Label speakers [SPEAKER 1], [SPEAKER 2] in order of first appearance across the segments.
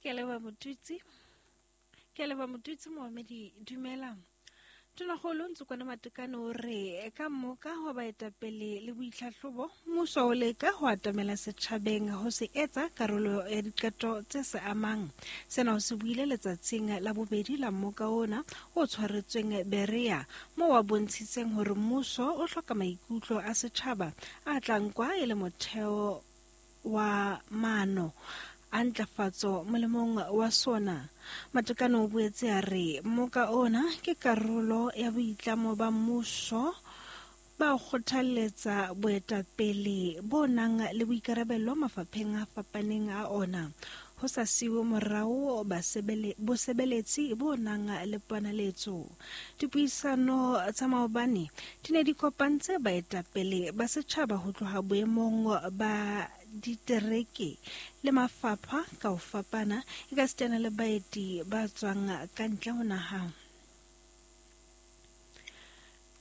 [SPEAKER 1] Ke a leboha Motutsi. Ke a leboha Motutsi Moamedi dumela. Tonakgolo Ntsokwane Matekane o re ka mmoka wa baetapele le boitlhahlobo mmuso o leka ho atamela setjhabeng ho se etsa karolo ya diqeto tse se amang. Sena o se buile letsatsing la bobedi la mmoka ona o tshwaretsweng Berea moo a bontshitseng hore mmuso o hloka maikutlo a setjhaba a tla nkwa e le motheo wa maano a ntlafatso molemong wa sona. Matekane o boetse a re moka ona ke karolo ya boitlamo ba mmuso ba kgothalletsa boetapele bo nang le boikarabelo mafapheng a fapaneng a ona ho sa siwe morao bosebeletsi bo nang le ponaletso. Dipuisano tsa maobane di ne di kopantse baetapele ba setjhaba ho tloha boemong ba ditereke le mafapha ka ho fapana ekasitana le baeti ba tswang ka ntle ho naha.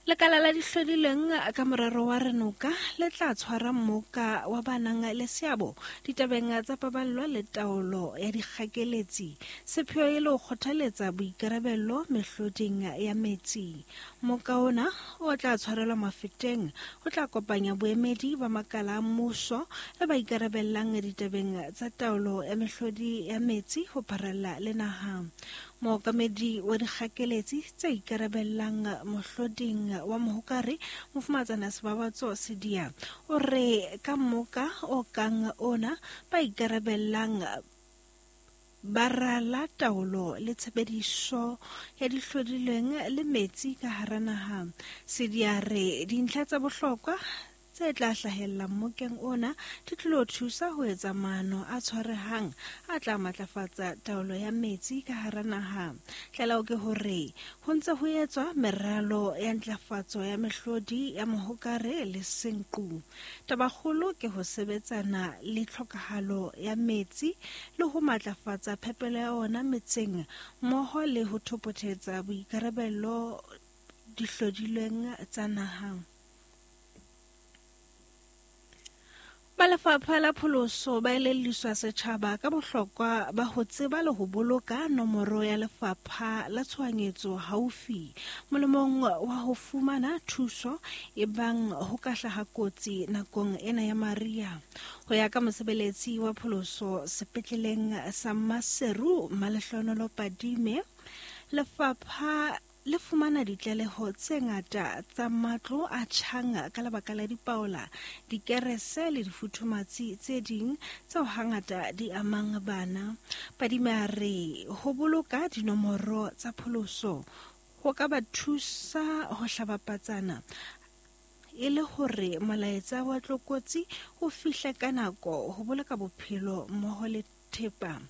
[SPEAKER 1] Lekala la dihlodilweng ka morero wa Renoka le tla tshwara mmoka wa ba nang le seabo ditabeng tsa paballo le taolo ya dikgakeletsi, sepheo e le ho kgothaletsa boikarabello mehloding ya metsi. Mmoka ona o tla tshwarelwa Mafeteng o tla kopanya boemedi ba makala a mmuso le ba ikarabellang ditabeng tsa taolo ya mehlodi ya metsi ho pharalla le naha. Mookamedi wa dikgakeletsi tse ikarabellang mohloding wa Mohokare, Mofumatsana Sebabatso Sedia, o re ka mmoka o kang ona ba ikarabellang ba rala taolo le tshebediso ya dihlodilweng le metsi ka hara naha. Sedia re dintlha tsa bohlokwa tse tla hlahella mmokeng ona di tlilo thusa ho etsa maano a tshwarehang a tla matlafatsa taolo ya metsi ka hara naha. Tlaleho ke hore ho ntse ho etswa meralo ya ntlafatso ya mehlodi ya mohokare le senqu. Tabakgolo ke ho sebetsana le tlhokahalo ya metsi le ho matlafatsa phepelo ya ona metseng mmoho le ho thopothetsa boikarabello dihlodilweng tsa naha. Ba lefapha la pholoso ba elelliswa setjhaba ka bohlokwa ba ho tseba le ho boloka nomoro ya lefapha la tshohanyetso haufi molemong wa ho fumana thuso ebang ho ka hlaha kotsi nakong ena ya mariha. Ho ya ka mosebeletsi wa pholoso sepetleleng sa Maseru Malehlohonolo Padime, lefapha le fumana ditlaleho tse ngata tsa matlo a tjhang ka lebaka la dipaola, dikerese le difuthumatsi tse ding tseo hangata di amang bana. Padime a re ho boloka dinomoro tsa pholoso ho ka ba thusa ho hlaba patsana e le hore molaetsa wa tlokotsi o fihle ka nako ho boloka bophelo mmoho le thepa.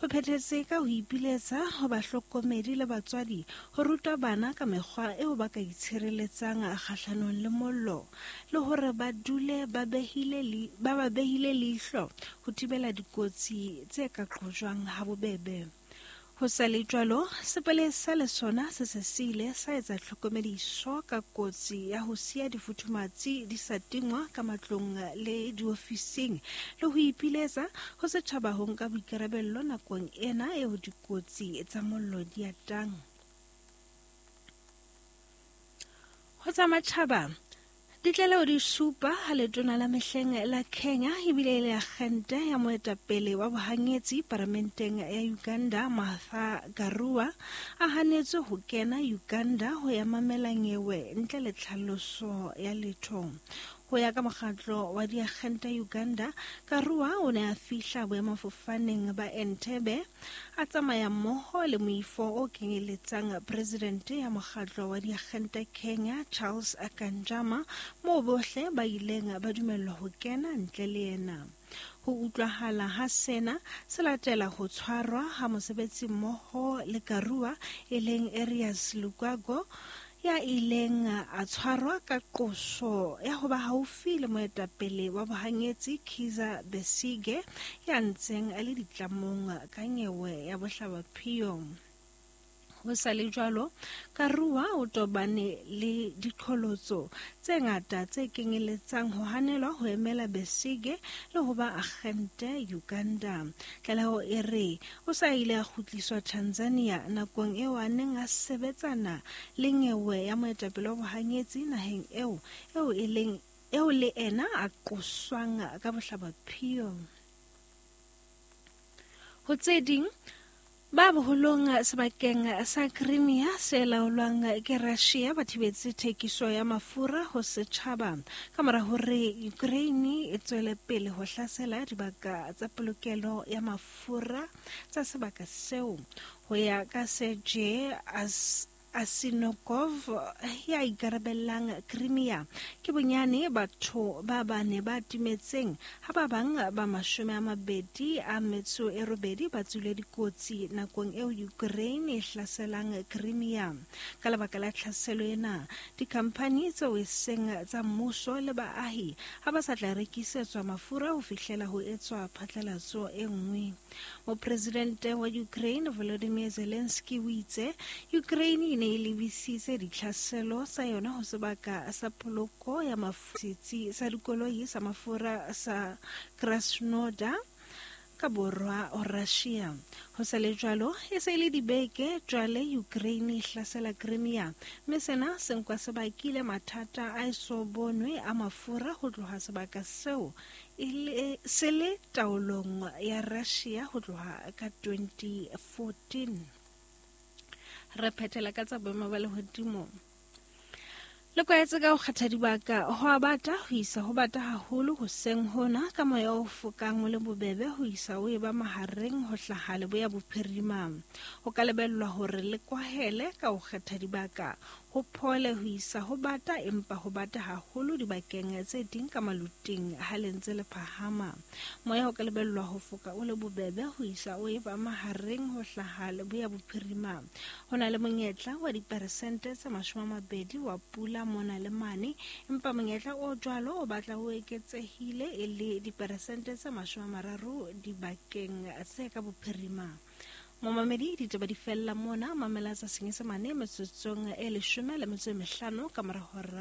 [SPEAKER 1] O phethetse ka ho ipiletsa ho bahlokomedi le batswadi ho ruta bana ka mekgwa eo ba ka itshireletsang kgahlanong le mollo le hore ba dule ba behile ba ba behile leihlo ho thibela dikotsi tse ka qojwang habobebe. Ho sa le jwalo, sepolesa le sona se se se ile sa etsa tlhokomediso ka kotsi ya ho siya difuthumatsi di sa tingwa ka matlong le diofising le ho ipiletsa ho setjhaba ho nka boikarabello nakong ena eo dikotsi tsa mollo di atang. Ho tsa matjhaba, Ditlaleho di supa ha letona la mehleng la Kenya ebile e le akgente ya moetapele wa bohanyetsi paramenteng ya Uganda Martha Karua a hanetswe ho kena Uganda ho ya mamela nyewe ntle le tlhaloso ya letho. Ho ya ka mokgatlo wa diakgente Uganda, Karua o ne a fihla boemafofaneng ba Entebbe a tsamaya mmoho le moifo o kenyeletsang presidente ya mokgatlo wa diagente Kenya Charles Kanjama, moo bohle ba ileng ba dumellwa ho kena ntle le yena. Ho utlwahala ha sena se latela ho tshwarwa ha mosebetsi mmoho le Karua e leng Erias Lukwago, ya ileng a tshwarwa ka qoso ya ho ba haufi le moetapele wa bohanyetsi Kizza Besigye ya ntseng a le ditlamong ka nyewe ya bohlabaphiyo. Ho sa le jwalo, Karua o tobane le diqholotso tse ngata tse kenyeletsang ho hanelwa ho emela Besigye le ho ba akgente Uganda. Tlaleho e re o sa ile a kgutliswa Tanzania nakong eo a neng a sebetsana le nyewe ya moetapele wa bohanyetsi naheng eo e leng eo le ena a qoswang ka bohlabaphio. Ho tse ding, ba boholong sebakeng sa Crimea se laolwang ke Russia ba thibetse thekiso ya mafura ho setjhaba ka mora hore Ukraine e tswele pele ho hlasela dibaka tsa polokelo ya mafura tsa sebaka seo. Ho ya ka Sergei Asinokov ya ikarabellang Crimea, ke bonyane batho ba bane ba timetseng ha ba bang ba 28 ba tswile dikotsi nakong eo Ukraine e hlaselang Crimea. Ka lebaka la tlhaselo ena, dikhamphani tseo e seng tsa mmuso le baahi ha ba sa tla rekisetswa mafura ho fihlela ho etswa phatlalatso e nngwe. Mopresidente wa Ukraine Volodymyr Zelensky o itse Ukraine e ne e lebisitse ditlhaselo tsa yona ho sebaka sa poloko ya setsi sa dikoloi sa mafura sa Krasnodar ka borwa ho Russia. Ho sa le jwalo, e se le dibeke jwale Ukraine e hlasela Crimea, mme sena se nkwa se bakile mathata a eso bonwe a mafura ho tloha sebaka seo se le taolong ya Russia ho tloha ka 2014. Re phethela ka tsa boemo ba lehodimo. Le kwaetse ka ho kgetha dibaka ho a bata ho isa ho bata haholo hoseng hona ka moya o fokang o le bobebe ho isa o eba mahareng ho hlaha leboya bophirima. Ho ka lebellwa hore le kwahele ka ho kgetha dibaka ho phole ho isa ho bata empa ho bata haholo dibakeng tse ding ka maluting ha le ntse le phahama. Moya ho ka lebellwa ho foka o le bobebe ho isa o eba mahareng ho hlaha leboya bophirima. Ho na le monyetla wa diperesente tse 20 wa pula mona le mane, empa monyetla o jwalo o batla o eketsehile e le diperesente tse 30 dibakeng tse ka bophirima. Momamedi, ditaba di fella mona, mamela tsa Senyesemane metsotsong e 15 ka mora hora.